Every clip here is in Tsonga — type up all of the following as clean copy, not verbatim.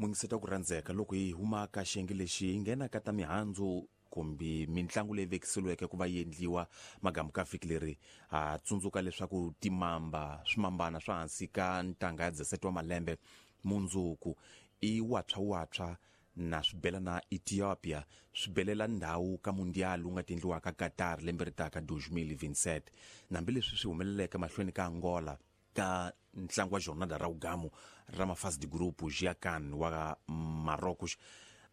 Mungiseta ku rhandzeka loko hi huma ka xiyenge lexi hi nghena ka ta mihandzu kumbe mintlangu leyi vekiseliweke ku va yi endliwa magamu ka vhiki leri. Ha tsundzuka leswaku timamba swimambana swa hansi ka ntanga ya 17 wa malembe mundzuku i watshwa na swi na Ethiopia swi belela ndhawu ka mundial wu nga ta endliwaka Qatar lembe ri taka 2027. Hambileswi swi humeleleke mahlweni ka Angola ka ntlangu wa jornada ra ugamu ra mafasi de grupo Giacan wa Marrocos,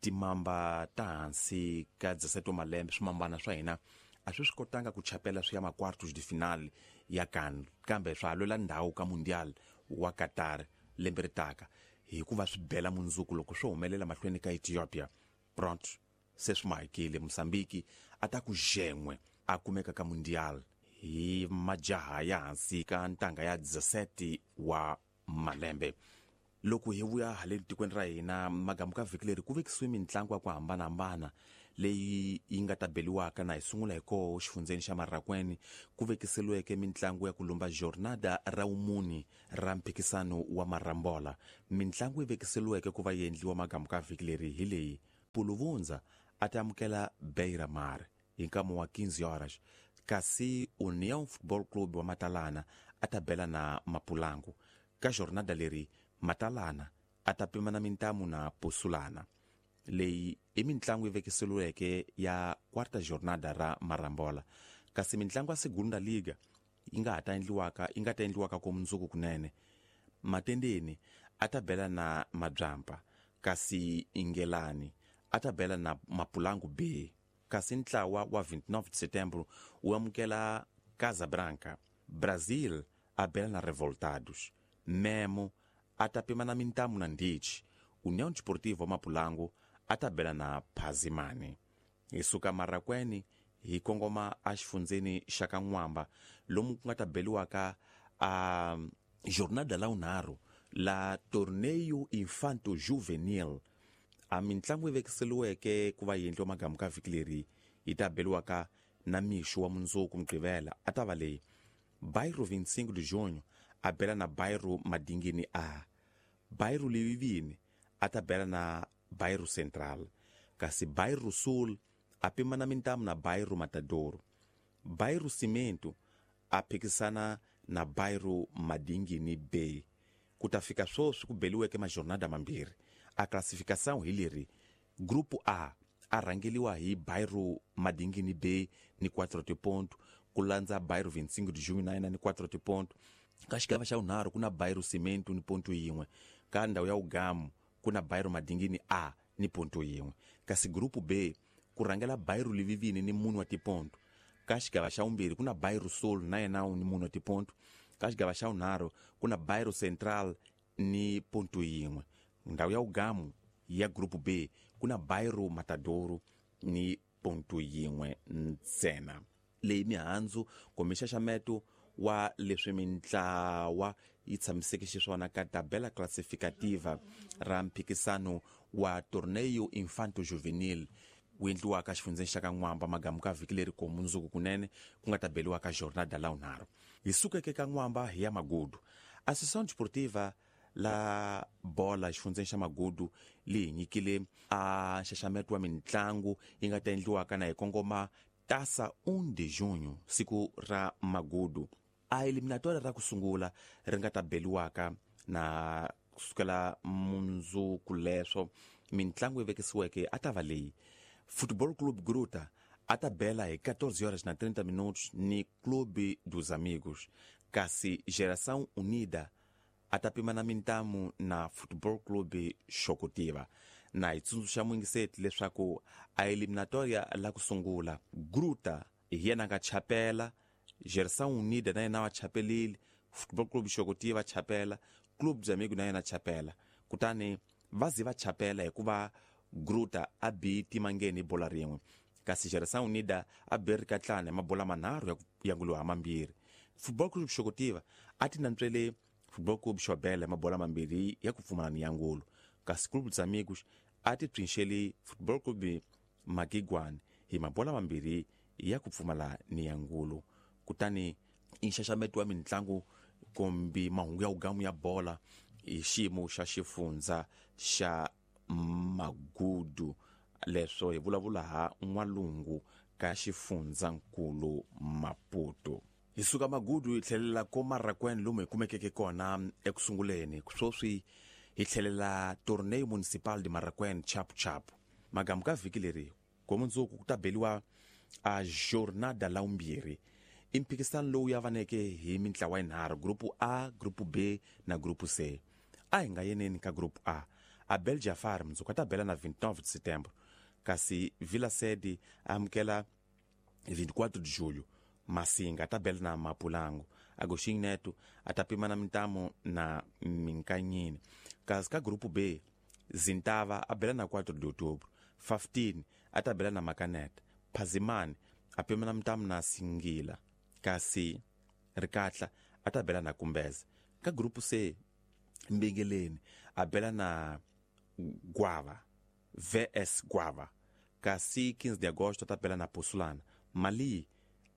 timamba ta hansi ka 17 wa malembe swimambana swa hina a swi swi kotanga ku chapela swi ya ma-quartos de final ya CAN, kambe swa ha lwela ndhawu ka mundial wa Qatar lembe ri taka hikuva swi bela mundzuku loko swo humelela mahlweni ka Ethiopia. Pronto, se swi mahikile Mozambique a ta ku xen'we a kumeka ka mundial hi majaha ya hansi ka ntanga ya 17 wa malembe. Loko hi vuya haleni tikweni ra hina magamu ka vhiki leri ku vekisiwe mintlangu ya ku hambanahambana leyi yi nga ta beliwaka na hi sungula hi koho xifundzeni xa Marrakwene ku vekiseliweke mintlangu ya ku lumba jornada ra wumuni ra mphikisano wa Marambola. Mintlangu yi vekiseliweke ku va yi endliwa magamu ka vhiki leri hi leyi: Puluvundza a ta amukela Beira Mar hi nkama wa 15 horas, kasi União Football Club wa Matalana a ta bela na Mapulangu. Ka jornada leri Matalana a ta pimana mintamu na Pusulana. Leyi i mintlangu yi vekiseliweke ya quarta jornada ra Marambola, kasi mintlangu ya Segunda Liga yi nga ha ta endliwaka yi nga ta endliwaka ko mundzuku kunene. Matendeni a ta bela na Mabyampa, kasi Ingelani a ta bela na Mapulangu B, kasi ntlawa wa 29 de setembro wu amukela Casabranca. Brazil a bela na Revoltados, Memo a ta pimana mintamu na Ndichi, União Desportiva wa Mapulangu a ta bela na Phazimani. Hi suka Marrakwene hi kongoma exifundzeni xa ka N'wamba lomu ku nga ta beliwaka a jornada la wunharhu la Torneio Infanto Juvenil. A mintlangu yi vekiseliweke ku va yi endliwa magamu ka vhiki leri yi ta beliwaka na mixo wa mundzuku Mugqivela a ta va leyi: Bairro 25 de Junho a bela na Bairro Madingini A, Bairro Levivini a ta bela na Bairro Central, kasi Bairro Sul a pimana mintamu na Bairro Matador, Bairro Cimento a phikisana na Bairro Madingini B. Ku ta fika sweswi ku beliweke majornada mambirhi a classificação hi leri: Grupo A a rhangeliwa hi Bairro Madingini B ni 4 tiponto, ku landza Bairro 25 de Junho na yena ni 4 tiponto. Ka xigava xa vunharhu ku na Bairro Cimento ni ponto yin'we, ka ndhawu ya wugamu ku na Bairro Madingini A ni ponto yin'we, kasi Grupo B ku rhangela Bairro Livivini ni mune wa tiponto. Ka xigava xa vumbirhi ku na Bairro Sul na yena ni mune wa tiponto, ka xigava xa vunharhu ku na Bairro Central ni ponto yin'we, ndhawu ya wugamu ya Grupo B ku na Bairro Matadoro ni ponto yin'we ntsena. Leyi mihandzu kumbe nxaxameto wa leswi mintlawa yi tshamiseke xiswona ka tabela classificativa ra mphikisano wa Torneio Infanto Juvenil wu endliwaka xifundzeni xa ka N'wamba magamu ka vhiki leri ko mundzuku kunene ku nga ta beliwa ka jornada la wunharhu. Hi sukeke ka N'wamba hi ya Magudu. Associação Desportiva la bola xifundzeni xa Magudu li hi nyikile a nxaxameto wa mintlangu yi nga ta endliwaka na hi kongoma Taça 1 de junho, siku ra Magudu. A eliminatória ra ku sungula ri nga ta beliwaka na kusukela mundzuku leswo mintlangu yi vekisiweke a ta va leyi: Football Club Gruta a ta bela hi 14 horas na 30 minutos ni Clube dos Amigos, kasi Geração Unida a ta pimana mintamu na Football Club Xokutiva. Na hi tsundzuxa muyingiseti leswaku a eliminatoria la ku sungula Gruta hi yena nga chapela, Geração Unida na yena wa chapelile, Football Club Xokutiva chapela, Clube dos Amigos na yena chapela, kutani va ze va chapela hikuva Gruta a bi timangeni hi bola rin'we, kasi Geração Unida a be rikatlana hi mabola manharhu ya nguliwa ha mambirhi. Football Club Xokutiva a ti nantswele Football Club Xobela hi mabola mambirhi ya ku pfumala ni ya ngulu, kasi Clube dos Amigos a ti psinxeli Football Club Magigwani hi mabola mambirhi ya ku pfumala ni ya ngulu. Kutani i nxaxameto wa mintlangu kumbe mahungu ya wugamu ya bola hi xiyimo xa xifundza xa Magudu. Leswo hi vulavula ha N'walungu ka xifundzankulu Maputo. Hi suka Magudu hi tlhelela ko Marracuene lomu hi kumekeke kona eku sunguleni. Swoswi hi tlhelela Torneio Municipal de Marracuene chapu chapu. Magamu ka vhiki leri ko mundzuku ku ta beliwa a Jornada la vumbirhi. I mphikisano lowu yavaneke hi mintlawa yinharhu, Grupo A, Grupo B na Grupo C. A hi nga yeneni ka Grupo A. Abel Jafar mundzuku a ta bela na 29 de Setembro, kasi Vila Sede a amukela 24 de Julho. Masinga a ta bela na Mapulango. Agostinho Neto a ta pimana mintamu na Minkanyini. Kasi ka Grupo B, Zintava a bela na 4 de Outubro. 15 a ta bela na Makaneta. Phazimani a pimana mintamu na Singila. Kasi Rikatla a ta bela na Kumbeza. Ka Grupo C, Mbingeleni a bela na Guava, VS Guava. Kasi 15 de Agosto a ta bela na Posulana. Mali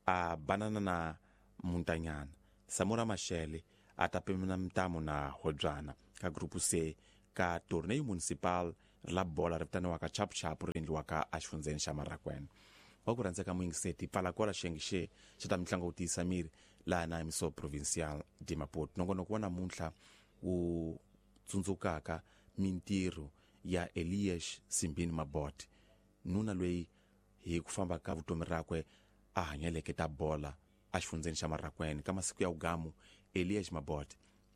a banana na Muntanyana. Samora Machel a ta pimana mintamu na Hodzwana. Ka Grupo C, ka Torneio Municipal la bola ri vitaniwaka Chapu Chapu ri endliwaka exifundzheni xa Marracuene. Wa ku rhandzeka muyingiseti, pfala kwala xiyenge xe xa ta mitlangu ku tiyisa miri laha na Emissora Provincial de Maputo. Nongonoko wa namuntlha wu tsundzukaka mintirho ya Elias Simbine Mabote, nuna loyi hi ku famba ka vutomi rakwe a hanyeleke ta bola exifundzheni xa Marracuene. Ka masiku ya vugamu, Elias Mabote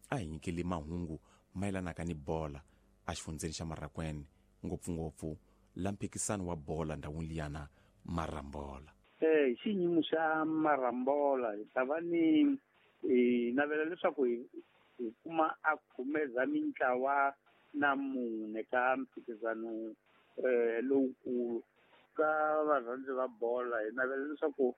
a hi nyikele mahungu mayelanaka ni bola exifundzheni xa Marracuene, ngopfungopfu la mphikisano wa bola ndhawini liyana Marambola. Hi xiyimo xa Marambola hi ta va ni hi navela leswaku hi kuma a khumeza mintlawa na mune ka mphikizano lowukulu ka varhandzi va bola. Hi navela leswaku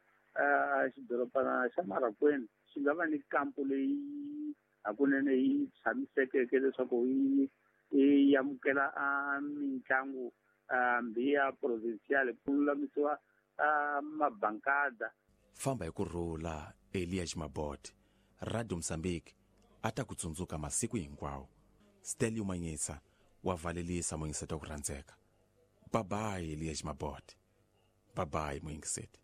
xidorobana xa Marracuene xi nga va ni kampo leyi hakunene yi tshamisekeke leswaku yi amukela mitlangu hambi ya provincial, ku lulamisiwa mabankada. Famba hi ku rhula Elias Mabote. Radio Mozambique a ta ku tsundzuka masiku hinkwawo. Stelio Manyisa wa valelisa muyingiseti wa ku rhandzeka. Bye bye Elias Mabote. Bye bye muyingiseti.